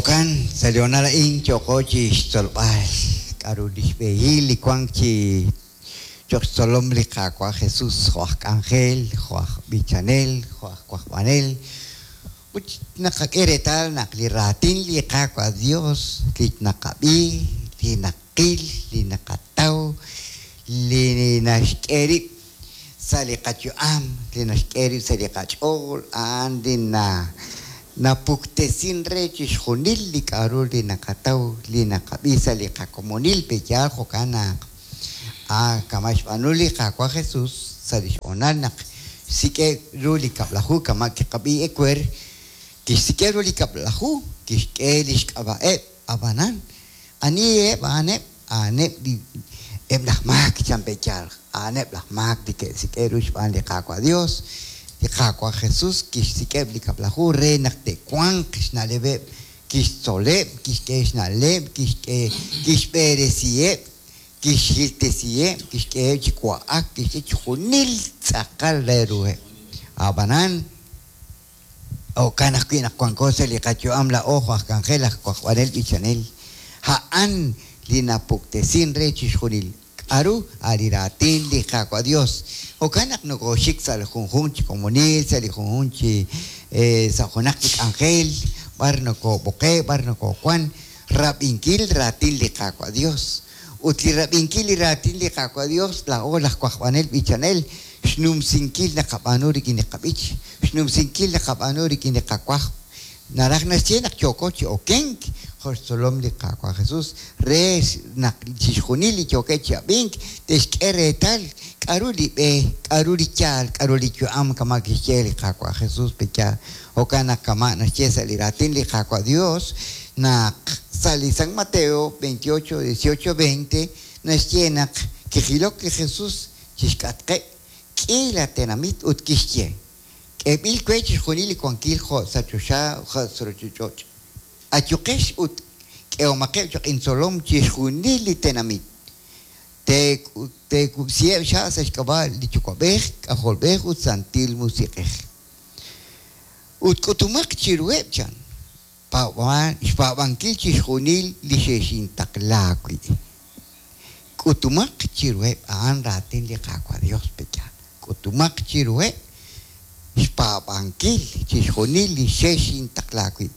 Jo'kan, sa' li hoonal a'in yooko chi xtzolb'al k'aru li xb'ehil li wank chi cho'q xtzolom li Qaawa' Jesús jo' aj k'anjel, jo' aj b'ichanel, jo' aj wajb'anel. Ut naqak'e reetal naq li raatin li Qaawa' Dios li naqab'i, li naqil, li naqataw, li naxk'e rib' sa' li qayu'am, li naxk'e rib' sa' li qach'ool, a'an li na napuktesin re chixjunil li k'a'ru li naqataw, li naqab'i sa' li qakomonil. Pe'yaal jo'kan naq a kama' xb'aanu li Qaawa' Jesus sa' li xhoonal naq xsik'eb' ru li Kab'laju kama' kiqab'i ewer, kixsik'eb' ru li Kab'laju, kixk'e li xk'ab'a'eb', ab'anan aniheb' a'aneb'? A'aneb' li eb' laj maak, chan pe'yaal, a'aneb' laj maak li ke'sik'e' ru xb'aan li Qaawa' Dios. Li Qaawa' Jesus kixsik'eb' li Kab'laju re naq te'wanq xna'leb'eb', kixtzoleb', kixk'e xna'leb', kixk'e, kixb'eresiheb', kixhiltesiheb', kixk'eheb' chi wa'ak, kixk'e chixjunil tz'aqal re ruheb'. A'b'anan, Jo'kan ajwi' naq wanko sa' li qayu'am laa'o jo' aj k'anjel aj wajb'anel b'ichanel, a'an li napuktesin re chixjunil k'a'ru a' li raatin li Qaawa' Dios. Jo'kan naq nokooxik sa' li junjunq chi komonil, sa' li junjunq chi sa' junaq li k'anjel, b'ar nokoob'oqe', b'ar nokoowan, rab'inkil raatin li Qaawa' Dios. Ut li rab'inkil li raatin li Qaawa' Dios, laa'o laj wajb'anel b'ichanel, xnumsinkil naqab'aanu rik'in li qab'ich, xnumsinkil naqab'aanu rik'in li qawajb', naraj naxye naq yooko chi okenk jo' xtzolom li Qaawa' Jesus re naq chixjunil li yookeb' chi ab'ink te'xk'e reetal k'a'ru li b'e, k'a'ru li yaal, k'a'ru li yu'am kama' kixye li Qaawa' Jesus pe yaal. Jo'kan naq kama' naxye sa' li raatin li Qaawa' Dios naq sa' li San Mateo 28, 18, 20 naxye naq kijilok li Jesus chixk'atqeb' k'iila tenamit ut kixye, K'eeb'il we chixjunil li wankil jo' sa' choxa jo' sa' ruuchich'och'. Ayuqex ut k'ehomaqeb' cho'q intzolom chixjunil li tenamit. Teekub'siheb' xha' sa' xk'ab'a' li Yuwa'b'ej, K'ajolb'ej ut Santil Musiq'ej. Ut k'utumaq chiruheb', chan, xpaab'ankil chixjunil li xexintaqla wi'. K'utumaq chiruheb' a'an raatin li Qaawa' Dios, pe'yaal? K'utumaq chiruheb' xpaab'ankil chixjunil li xexintaqla wi'.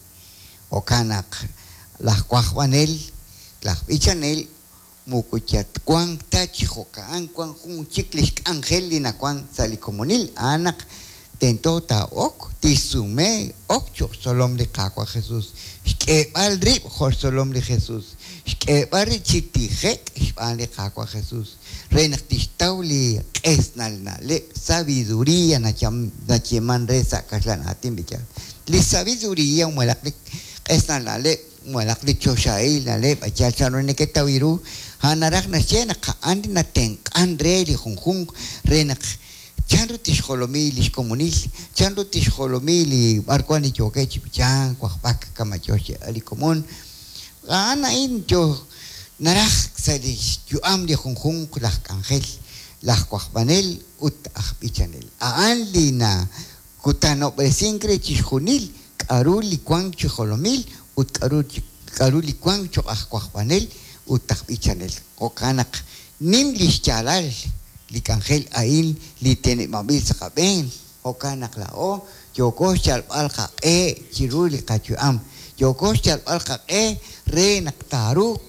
Jo'kan naq laj wajb'anel, laj b'ichanel moko yatwanq ta chi jo'ka'an wan jun chik lix k'anjel li nawan sa' li komonil, a'an naq tento taa'ok, tixsume ok choq' xtzolom li Qaawa' Jesus, xk'eeb'al rib' jo' xtzolom li Jesus, xk'eeb'al rib' chi tije'k xb'aan li Qaawa' Jesus, re naq tixtaw li q'esnal na'leb', sabiduria nayeeman re sa' kaxlan aatin b'iyal. Li sabiduria malaj li q'esnal na'leb' Malaj li choxahil na'leb' yal chanru neketaw ru, a'an naraj naxye naq a'an li natenq'an re li junjunq re naq chanru tixjolomi li xkomonil, chanru tixjolomi li b'arwan li yookeb' chi b'ichank, wajb'ak kama' yoo xyeeb'al li komon. A'an a'in yoo naraj sa' li xyu'am li junjunq laj k'anjel, laj wajb'anel ut aj b'ichanel. A'an li nakutanob'resink re chixjunil k'a'ru li wank chi jolomil ut k'a'ru k'a'ru li wank choq' aj wajb'anel ut aj b'ichanel. Jo'kan naq nim lix yaalal li k'anjel a'in li teneb'anb'il sa' qab'een, jo'kan naq laa'o yooko xyalb'al qaq'e chiru li qayu'am, yooko xyalb'al qaq'e re naq taaruuq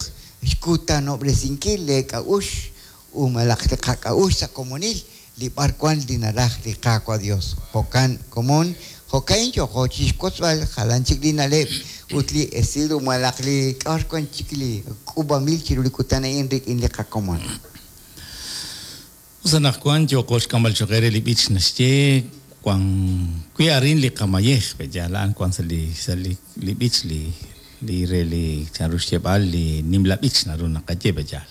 xkutanob'resinkil lee k'a'uxl ut malaj li qak'a'uxl sa' komonil li b'ar wan li naraj li Qaawa' Dios. Jo'kan, komon, jo'ka'in yooko chixwotzb'al jalan chik li na'leb' ut li esil malaj li k'a'ar wan chik li k'uub'anb'il chiru li kutan a'in rik'in li qakomon. Us anaqwan yooko xk'amb'al cho'q eere li b'ich naxye wan wi' arin li qamayej, pe'yaal a'an wan sa' li sa' li li b'ich li li re li chanru xyeeb'al li nimla b'ich naru naqaye pe'yaal.